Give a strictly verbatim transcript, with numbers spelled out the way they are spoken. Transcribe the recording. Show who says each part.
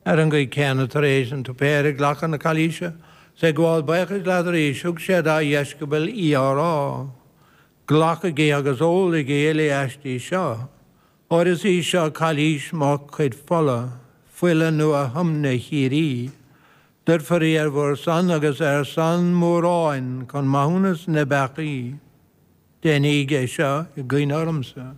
Speaker 1: Ar an gcaoi chéanna tar éis an tsuipéir ag glacadh na cailíse, 's ag gabháil buíochais leat arís, thug sé dá dheisceabail í á rá, Glacaigí agus ólaigí uile aisti seo, óir is í seo cailís mo chuid fola, fuil an nua-thiomna shíoraí. Doirtfear í ar bhur son agus ar son móráin chun maithiúnas na bpeacaí. Déanaíg é seo i gcuimhne ormsa.